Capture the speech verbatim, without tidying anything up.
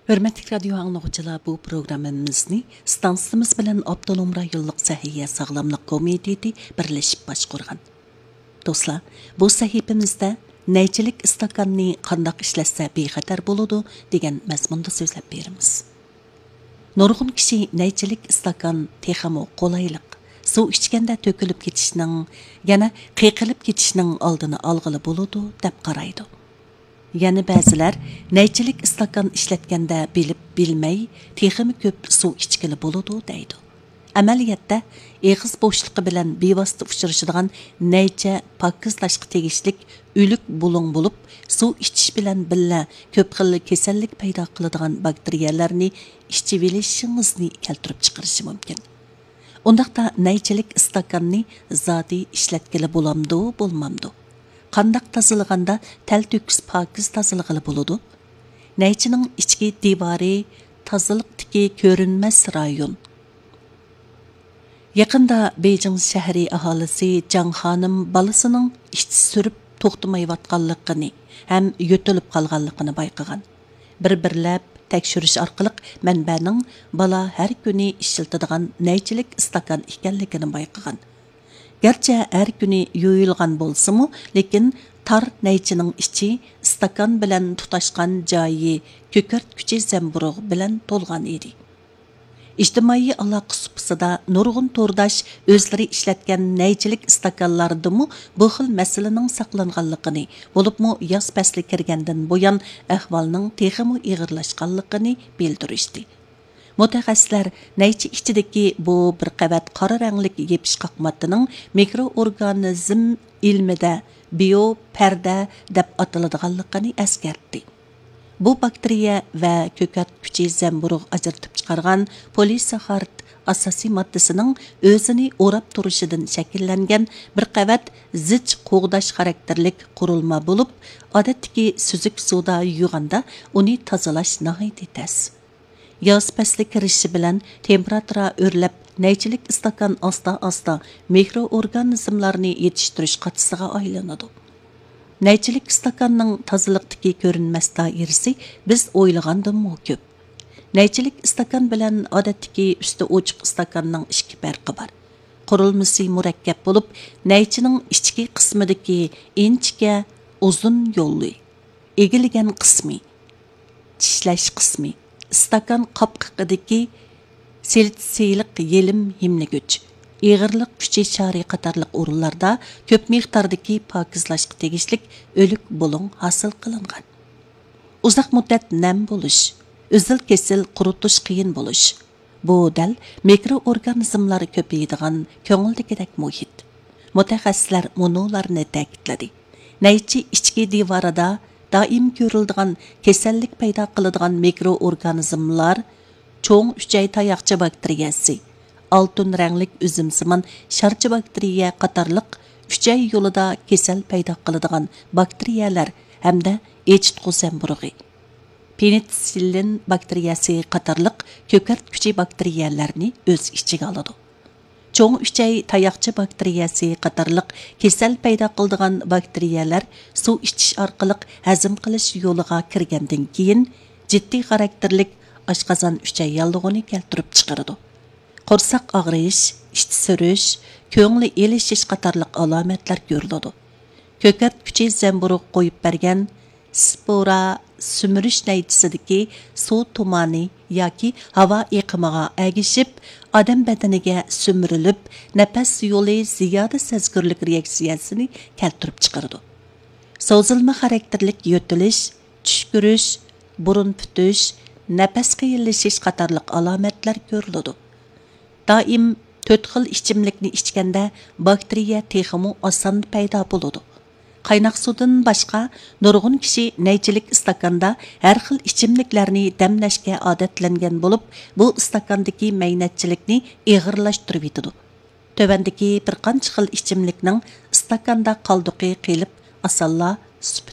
ھۆرمەتلىك رادىيو ئاڭلىغۇچىلار، بۇ پروگراممىمىزنى ستانسىمىز بىلەن ئاپتونوم رايونلۇق سەھىيە ساغلاملىق كومىتېتى بىرلىشىپ باشقۇرغان. دوستلار، بۇ سەھىپىمىزدە نەيچىلىك ئىستاكاننى قانداق ئىشلەتسە بىخەتەر بولىدۇ دېگەن مەزمۇندا سۆزلەپ بېرىمىز. نۇرغۇن كىشى نەيچىلىك ئىستاكان تېخىمۇ قولايلىق، سۇ ئىچكەندە تۆكۈلۈپ كېتىشنىڭ، يەنە قېقىلىپ كېتىشنىڭ ئالدىنى ئالغىلى بولىدۇ، دەپ قارايدۇ. يەنە بەزىلەر نەيچىلىك ئىستاكان ئىشلەتكەندە بىلىپ بىلمەي تېخىمۇ كۆپ سۇ ئىچكىلى بولىدۇ، دەيدۇ. ئەمەلىيەتتە، ئېغىز بوشلۇقى بىلەن بىۋاسىتە ئۇچرىشىدىغان نەيچە پاكىزلاشقا تېگىشلىك ئۆلۈك بۇلۇڭ بولۇپ، سۇ ئىچىش بىلەن بىللە كۆپ خىل كېسەللىك پەيدا قىلىدىغان باكتېرىيەلەرنى ئىچىۋېلىشىڭىزنى كەلتۈرۈپ چىقىرىشى مۇمكىن. ئۇنداقتا نەيچىلىك ئىستاكاننى زادى ئىشلەتكىلى بولامدۇ، بولمامدۇ؟ قانداق تازىلىغاندا تەلتۆكۈس پاكىز تازىلىغىلى بولىدۇ؟ نەيچىنىڭ ئىچكى دىۋارى تازىلىقتىكى كۆرۈنمەس رايون. يېقىندا بېيجىڭ شەھىرى ئاھالىسى جاڭ خانىم بالىسىنىڭ ئىچ سۈرۈپ توختىمايۋاتقانلىقىنى ھەم يۆتىلىپ قالغانلىقىنى بايقىغان. بىر-بىرلەپ تەكشۈرۈش ئارقىلىق مەنبەنىڭ بالا ھەر كۈنى ئىشلىتىدىغان نەيچىلىك ئىستاكان ئىكەنلىكىنى بايقىغان. گەرچە ھەر كۈنى يۇيۇلغان بولسىمۇ، لېكىن تار نەيچىنىڭ ئىچى ئىستاكان بىلەن تۇتاشقان جايى كۆكەرتكۈچى زەمبۇرۇغ بىلەن تولغان ئىدى. ئىجتىمائىي ئالاقە سۇپىسىدا نۇرغۇن تورداش ئۆزلىرى ئىشلەتكەن نەيچىلىك ئىستاكانلاردىمۇ بۇ خىل مەسىلىنىڭ ساقلانغانلىقىنى، بولۇپمۇ ياز پەسلى كىرگەندىن بۇيان ئەھۋالنىڭ تېخىمۇ ئېغىرلاشقانلىقىنى بىلدۈرۈشتى. مۇتەخەسسىسلەر نەيچە ئىچىدىكى بۇ بىر قەۋەت قارا رەڭلىك يېپىشقاق ماددىنىڭ مىكرو ئورگانىزم ئىلمىدە بىيو پەردە دەپ ئاتىلىدىغانلىقىنى ئەسكەرتتى. بۇ باكتېرىيە ۋە كۆكەرتكۈچى زەمبۇرۇغ ئاجرىتىپ چىقارغان پولىساخارىد ئاساسىي ماددىسىنىڭ ئۆزىنى ئوراپ تۇرۇشىدىن شەكىللەنگەن بىر قەۋەت زىچ قوغداش خاراكتېرلىك قۇرۇلما بولۇپ، ئادەتتىكى سۈزۈك سۇدا يۇيغاندا ئۇنى تازىلاش ناھايىتى تەس. ياز پەسلى كىرىشى بىلەن تېمپېراتۇرا ئۆرلەپ، نەيچىلىك ئىستاكان ئاستا-ئاستا مىكرو ئورگانىزملارنى يېتىشتۈرۈش قاچىسىغا ئايلىنىدۇ. نەيچىلىك ئىستاكاننىڭ تازىلىقتىكى كۆرۈنمەس دائىرىسى بىز ئويلىغاندىنمۇ كۆپ. نەيچىلىك ئىستاكان بىلەن ئادەتتىكى ئۈستى ئوچۇق ئىستاكاننىڭ ئىككى پەرقى بار. قۇرۇلمىسى مۇرەككەپ بولۇپ، نەيچىنىڭ ئىچكى قىسمىدىكى ئىنچىكە ئۇزۇن يولى، ئېگىلگەن قىسمى، چىشلەش قىسمى، ئىستاكان قاپقىقىدىكى سىلىتسىيلىق يېلىم ھىملىگۈچ، ئېغىرلىق كۈچى شارى قاتارلىق ئورۇنلاردا كۆپ مىقداردىكى پاكىزلاشقا تېگىشلىك ئۆلۈك بۇلۇڭ ھاسىل قىلىنغان. ئۇزاق مۇددەت نەم بولۇش، ئۈزۈل-كېسىل قۇرۇتۇش قىيىن بولۇش، بۇ دەل مىكرو ئورگانىزملار كۆپىيىدىغان كۆڭۈلدىكىدەك مۇھىت. مۇتەخەسسىسلەر مۇنۇلارنى تەكىتلىدى. نەيچە ئىچكى دىۋارىدا دائىم كۆرۈلىدىغان كېسەللىك پەيدا قىلىدىغان مىكرو ئورگانىزملار، چوڭ ئۈچەي تاياقچە باكتېرىيەسى، ئالتۇن رەڭلىك ئۈزۈمسىمان شارچە باكتېرىيە قاتارلىق ئۈچەي يولىدا كېسەل پەيدا قىلىدىغان باكتېرىيەلەر ھەمدە ئېچىتقۇ زەمبۇرۇغى، پېنىتسىللىن باكتېرىيەسى قاتارلىق كۆكەرتكۈچى باكتېرىيەلەرنى ئۆز ئىچىگە ئالىدۇ. چوڭ ئۈچەي تاياقچە باكتېرىيەسى قاتارلىق كېسەل پەيدا قىلىدىغان باكتېرىيەلەر سۇ ئىچىش ئارقىلىق ھەزىم قىلىش يولىغا كىرگەندىن كېيىن، جىددىي خاراكتېرلىك ئاشقازان ئۈچەي ياللۇغىنى كەلتۈرۈپ چىقىرىدۇ. قورساق ئاغرىيىش، ئىچ سۈرۈش، كۆڭلى ئېلىشىش قاتارلىق ئالامەتلەر كۆرۈلىدۇ. كۆكەرتكۈچى زەمبۇرۇغ قويۇپ بەرگەن سپورا سۈمۈرۈش نەيچىسىدىكى سۇ تۇمانى ياكى ھاۋا ئېقىمىغا ئەگىشىپ، ئادەم بەدىنىگە سۈمۈرۈلۈپ، نەپەس يولى زىيادە سەزگۈرلۈك رېئاكسىيەسىنى كەلتۈرۈپ چىقىرىدۇ. سوزۇلما خاراكتېرلىك يۆتىلىش، چۈشكۈرۈش، بۇرۇن پۈتۈش، نەپەس قىيىنلىشىش قاتارلىق ئالامەتلەر كۆرۈلىدۇ. دائىم تۆت خىل ئىچىملىكنى ئىچكەندە، باكتېرىيە تېخىمۇ ئاسان پەيدا بولىدۇ. قايناق سۇدىن باشقا، نۇرغۇن كىشى نەيچىلىك ئىستاكاندا ھەر خىل ئىچىملىكلەرنى دەملەشكە ئادەتلەنگەن بولۇپ، بۇ ئىستاكاندىكى مەينەتچىلىكنى ئېغىرلاشتۇرۇۋېتىدۇ. تۆۋەندىكى بىر قانچە خىل ئىچىملىكنىڭ ئىستاكاندا قالدۇقى قېلىپ، ئاسانلا سۈپۈت